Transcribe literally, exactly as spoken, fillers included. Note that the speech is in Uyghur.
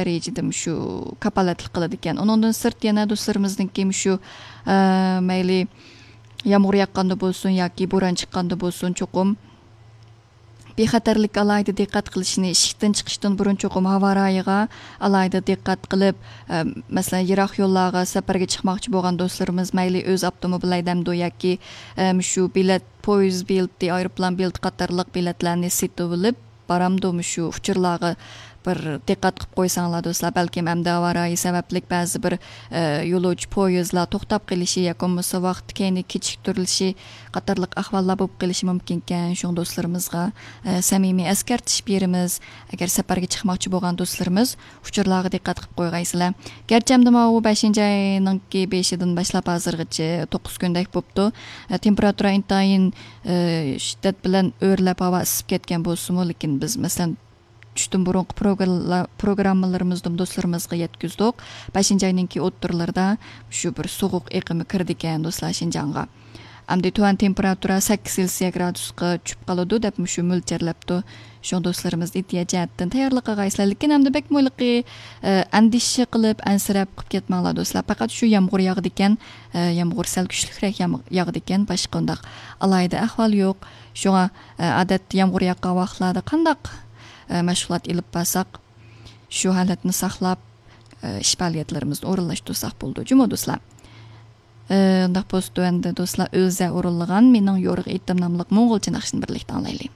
دەرىجىدە شۇ كاپالەتلىك قىلىدىكەن. ئۇنىڭدىن سىرت يەنە دوستلىرىمىزنىڭكى شۇ، ئە، مەيلى يامغۇر ياغقاندا بولسۇن ياكى بوران چىققاندا بولسۇن، چوقۇم بىخەتەرلىككە ئالاھىدە دىققەت قىلىشنى، ئىشىكتىن چىقىشتىن بۇرۇن چوقۇم ھاۋا رايىغا ئالاھىدە دىققەت قىلىپ، ئە، مەسىلەن، يىراق يوللارغا سەپەرگە چىقماقچى بولغان دوستلىرىمىز مەيلى ئۆز ئاپتوموبىل ھەيدەمدۇ ياكى، ئە، مۇشۇ بېلەت، پويىز بېلىتى، ئايروپىلان بېلىتى قاتارلىق بېلەتلەرنى سېتىۋېلىپ بارامدۇ، مۇشۇ ئۇچۇرلارغا بىر دىققەت قىلىپ قويساڭلار دوستلار، بەلكىم ئەمدى ھاۋا رايى سەۋەبلىك بەزى بىر، ئە، يولۇچى پويىزلار توختاپ قېلىشى ياكى بولمىسا ۋاقتى كەينىگە كېچىكتۈرۈلۈشى قاتارلىق ئەھۋاللار بولۇپ قېلىشى مۇمكىنكەن. شۇڭا دوستلىرىمىزغا، ئە، سەمىمىي ئەسكەرتىش بېرىمىز. ئەگەر سەپەرگە چىقماقچى بولغان دوستلىرىمىز ئۇچۇرلارغا دىققەت قىلىپ قويغايسىلەر. گەرچە ئەمدى ماۋۇ بەشىنچى ئاينىڭكى بېشىدىن باشلاپ ھازىرغىچە توققۇز كۈندەك بوپتۇ. ئە، تېمپېراتۇرا ئىنتايىن، ئە، شىددەت بىلەن ئۆرلەپ ھاۋا ئىسسىپ كەتكەن بولسىمۇ، لېكىن بىز، مەسىلەن، چۈشتىن بۇرۇنقى پروگراملا-، پروگراممىلىرىمىزدىمۇ دوستلىرىمىزغا يەتكۈزدۇق. بەشىنچى ئاينىڭكى ئوتتۇرىلىرىدا شۇ بىر سوغۇق ئېقىمى كىرىدىكەن دوستلار شىنجاڭغا. ئەمدى تۆۋەن تېمپېراتۇرا سەككىز سېلسىيە گرادۇسقا چۈشۈپ قالىدۇ دەپ مۇشۇ مۆلچەرلەپتۇ. شۇڭا دوستلىرىمىز ئېھتىيات جەھەتتىن تەييارلىق قىلغايسىلەر. لېكىن ئەمدى بەكمۇ ھېلىقى، ئە، ئەندىشە قىلىپ، ئەنسىرەپ قىپ كەتمەڭلار دوستلار. پەقەت شۇ يامغۇر ياغىدىكەن، ئە، يامغۇر سەل كۈچلۈكرەك يام-، ياغىدىكەن، باشقا ئۇنداق ئالاھىدە ئەھۋال يوق. شۇڭا، ئە، ئادەتتە يامغۇر ياغقان ۋاقىتلاردا قانداق، ئە، مەشغۇلات ئېلىپ بارساق، شۇ ھالەتنى ساقلاپ، ئە، ئىش پائالىيەتلىرىمىزنى ئورۇنلاشتۇرساق بولىدۇ جۇمۇ دوستلار. ئە، ئۇنداق بولسا تۆۋەندە دوستلار ئۆزى ئورۇنلىغان مېنىڭ يورۇق ئېيتتىم ناملىق موڭغۇلچە ناخشىنى بىرلىكتە ئاڭلايلى.